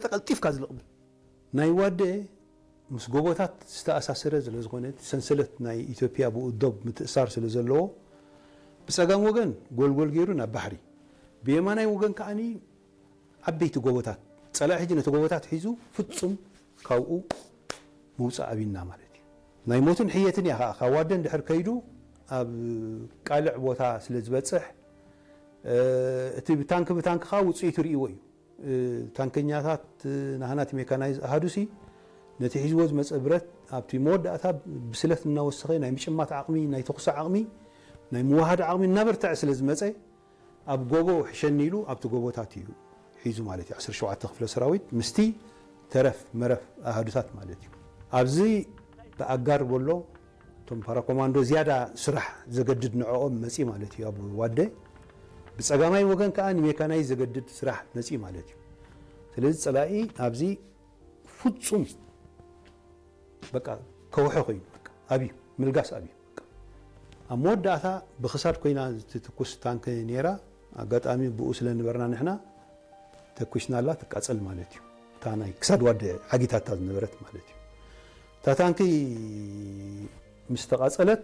ተቐልጢፍካ ዝልቕብል። ናይ ዋደ ምስ ጎቦታት ዝተኣሳሰረ ስለ ዝኾነ፣ እቲ ሰንሰለት ናይ ኢትዮጵያ ብኡ ዶብ ምትእሳር ስለ ዘለዎ፣ ብጸጋም ወገን ጎልጎል ገይሩ ናብ ባሕሪ፣ ብየማናይ ወገን ከኣኒ ዓበይቲ ጎቦታት፣ ጸላኢ ሕጂ ነቲ ጎቦታት ሒዙ ፍጹም ካብኡ ምውጻእ ኣብይና ማለት እዩ። ናይ ሞትን ሕየትን እያ ከኣ፣ ካብ ዋደ እንድሕር ከይዱ ኣብ ቃልዕ ቦታ ስለ ዝበጽሕ፣ እ፣ እቲ ብታንኪ ብታንኪ ከኣ ውጽኢቱ ርእይዎ እዩ። እ፣ ታንከኛታት፣ እ፣ ናህና እቲ ሜካናይዝ ኣሃዱሲ ነቲ ሒዝዎ ዝመጸ ብረት ኣብቲ መወዳእታ ብስለት እናወሰኸ ናይ ምጭማት ዓቕሚ፣ ናይ ተኹሲ ዓቕሚ፣ ናይ ምውሃድ ዓቕሚ እናበርትዐ ስለ ዝመጸ፣ ኣብ ጎቦ ሕሸኒ ኢሉ ኣብቲ ጎቦታት እዩ ሒዙ ማለት እዩ። ዓሰርተ ሸውዓተ ክፍለ ሰራዊት ምስቲ ተረፍ መረፍ ኣሃዱታት ማለት እዩ። ኣብዚ ብኣጋር በሎ እቶም ፓራኮማንዶ ዝያዳ ስራሕ ዘገድድ ንዕኦም መጺ ማለት እዩ። ኣብ ዋደ ብጸጋማይ ወገን ከኣ ንሜካናይ ዘገድድ ስራሕ መጺ ማለት እዩ። ስለዚ ጸላኢ ኣብዚ ፍጹም በቃ ከውሐ ኮይኑ፣ በቃ ኣብዩ፣ ምልጋስ ኣብዩ። በቃ ኣብ መወዳእታ ብኽሳድ ኮይና ትትኩስ ታንክ ነይራ። ኣጋጣሚ ብኡ ስለ ነበርና ንሕና ተኩስናላ ትቃጸል ማለት እዩ። እታ ናይ ክሳድ ዋደ ዓጊታታ ዝነበረት ማለት እዩ። እታ ታንኪ ምስ ተቃጸለት፣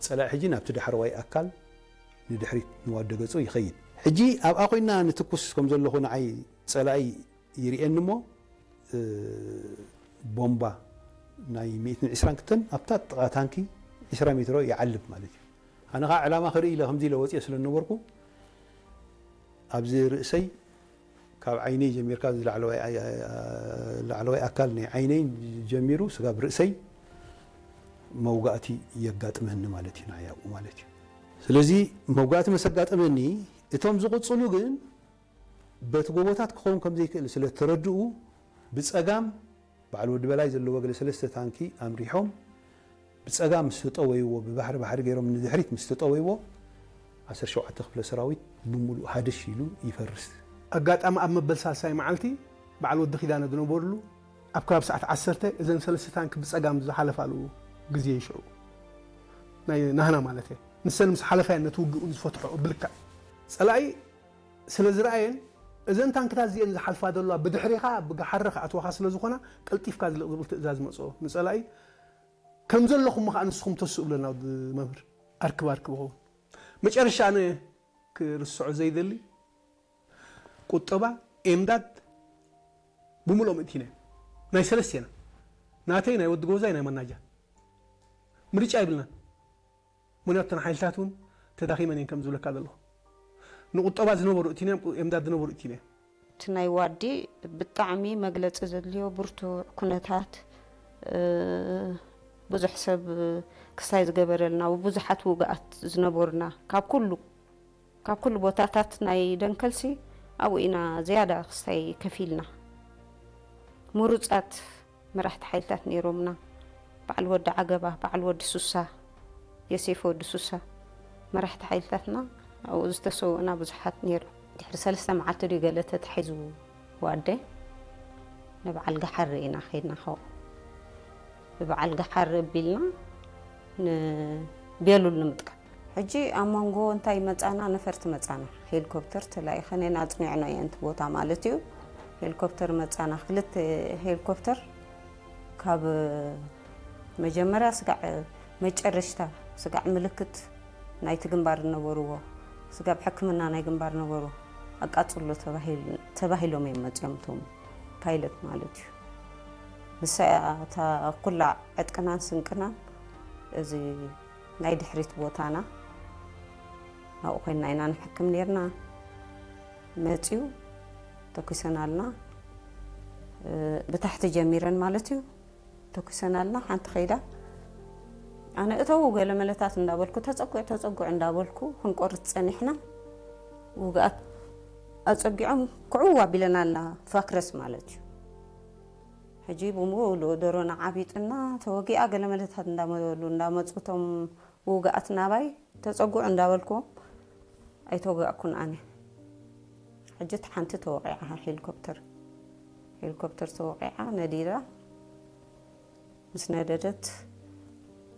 ጸላኢ ሕጂ ናብቲ ዳሕረዋይ ኣካል ንድሕሪት ንዋደ ገጹ ይኸይድ። ሕጂ ኣብኣ ኮይና ንትኩስ ከም ዘለኹ ንዓይ ጸላኢ ይርእየኒ እሞ፣ እ፣ ቦምባ ናይ ሚእትን ዕስራን ክልተን ኣብታ ጥቓ ታንኪ ዕስራ ሜትሮ ይዓልብ ማለት እዩ። ኣነ ኸዓ ዕላማ ክርኢ ኢለ ከምዚ ኢለ ወፂኦ ስለ ዝነበርኩ፣ ኣብዚ ርእሰይ ካብ ዓይነይ ጀሚርካ፣ እዚ ላዕለዋይ ኣይ-፣ ላዕለዋይ ኣካል ናይ ዓይነይ ጀሚሩ ስጋብ ርእሰይ መውጋእቲ የጋጥመኒ ማለት እዩ፣ ንዓይ ኣብኡ ማለት እዩ። ስለዚ መውጋእቲ መሰጋጠመኒ፣ እቶም ዝቕጽሉ ግን በቲ ጎቦታት ክኸውን ከም ዘይክእል ስለ ተረድኡ፣ ብጸጋም በዓል ወዲ በላይ ዘለዎ ገለ ሰለስተ ታንኪ ኣምሪሖም፣ ብጸጋም ምስ ተጠወይዎ፣ ብባሕሪ ባሕሪ ገይሮም ንድሕሪት ምስ ተጠወይዎ፣ ዓሰርተ ሸውዓተ ክፍለ ሰራዊት ብምሉእ ሃደሽ ኢሉ ይፈርስ። ኣጋጣሚ ኣብ መበል ሳልሳይ መዓልቲ በዓል ወዲ ኪዳነ ዝነበርሉ ኣብ ከባቢ ሰዓት ዓሰርተ እዘን ሰለስተ ታንኪ ብጸጋም ዝሓለፋሉ ግዜ እዩ ሽዑ። ናይ ናህና ማለት እየ። ንሰን ምስ ሓለፋ እየን ነቲ ውግእ እውን ዝፈትሖ ብልክዕ። ጸላኢ ስለ ዝረኣየን፣ እዘን ታንክታት እዚአን ዝሓልፋ ዘለዋ ብድሕሪኻ ብጋሓሪ ክኣትዋኻ ስለ ዝኾና፣ ቀልጢፍካ ዝልቕ ዝብል ትእዛዝ መጽኦ ንጸላኢ። ከም ዘለኹም ከኣ ንስኹም ተስኡ ብለና ወዲ መምህር። ኣርክብ ኣርክብ ኸውን። መጨረሻ ኣነ ክርስዖ ዘይደሊ ቁጠባ፣ ኤምዳድ ብምልኦም እቲና። ናይ ሰለስቴና። ናተይ፣ ናይ ወዲ ጎዛይ፣ ናይ መናጃ። ምርጫ የብልናን። ምኽንያቱ እተን ሓይልታት እውን ተዳኺመን እየን ከም ዝብለካ ዘለኹ። ንቁጠባ ዝነበሩ እቲና እዮም፣ ኤምዳድ ዝነበሩ እቲና እዮም። እቲ ናይ ዋዲ ብጣዕሚ መግለጺ ዘድልዮ ብርቱዕ ኩነታት፣ እ፣ ብዙሕ ሰብ ክስታይ ዝገበረልና፣ ብዙሓት ውግኣት ዝነበሩና፣ ካብ ኩሉ፣ ካብ ኩሉ ቦታታት ናይ ደንከልሲ ኣብኡ ኢና ዝያዳ ክስታይ ከፊልና። ምሩጻት መራሕቲ ሓይልታት ነይሮምና። በዓል ወዲ ዓገባ፣ በዓል ወዲ ሱሳ፣ የሴፍ ወዲ ሱሳ፣ መራሕቲ ሓይልታትና ኣብኡ ዝተሰውእና ብዙሓት ነይሮም። ድሕሪ ሰለስተ መዓልቲ ድዩ ገለ ተታሒዙ ዋደ ንበዓል ገሓሪ ኢና ኸይድና፣ ካብኡ ብበዓል ገሓሪ ኣቢልና ንቤሉል ንምጥቃም። ሕጂ ኣብ መንጎ እንታይ መጻና? ነፈርቲ መጻና። ሄሊኮፕተር ተላኢኸን እየን፣ ኣጽኒዕናዮ እየን እቲ ቦታ ማለት እዩ። ሄሊኮፕተር መጻና፣ ክልተ ሄሊኮፕተር ካብ መጀመርያ ስጋዕ መጨረሽታ፣ ስጋዕ ምልክት ናይቲ ግንባር ዝነበርዎ፣ ስጋብ ሕክምና ናይ ግንባር ነበሩ፣ ኣቃጽሎ ተባሂል-፣ ተባሂሎም እዮም መጺኦም እቶም ፓይለት ማለት እዩ። ንሳ እያ እታ ኩላ ዕጥቅናን ስንቅናን፣ እዚ ናይ ድሕሪት ቦታና፣ ኣብኡ ኮይንና ኢና ንሕክም ኔርና። መጺኡ ተኩሰናልና፣ እ፣ ብታሕቲ ጀሚረን ማለት እዩ። ተኩሰናልና፣ ሓንቲ ከይዳ፣ ኣነ እተው ገለ መለታት እንዳበልኩ፣ ተጸጉዕ፣ ተጸጉዕ እንዳበልኩ ክንቆርጽ ጸኒሕና። ውግኣት ኣጸጊዖም ክዕው ኣቢለናልና፣ ፋክረስ ማለት እዩ። ሕጂ ብምሉኡ ዶሮና ዓቢጥና፣ ተወጊኣ ገለ መለታት እንዳበሉ እንዳመጹ እቶም ውግኣት ናባይ፣ ተጸጉዕ እንዳበልኩዎም ኣይተወጋእኩን ኣነ። ሕጂ እቲ ሓንቲ ተወቒዓ ሄሊኮፕተር፣ ሄሊኮፕተር ተወቒዓ ነዲዳ። ምስ ነደደት፣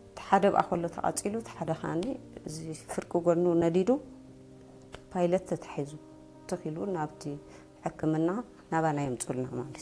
እቲ ሓደ ብኣ ከሎ ተቓጺሉ፣ እቲ ሓደ ከኣኒ እዚ ፍርቂ ጎኑ ነዲዱ፣ ፓይለት ተታሒዙ ትኽ ኢሉ ናብቲ ሕክምና ናባና የምፁልና ማለት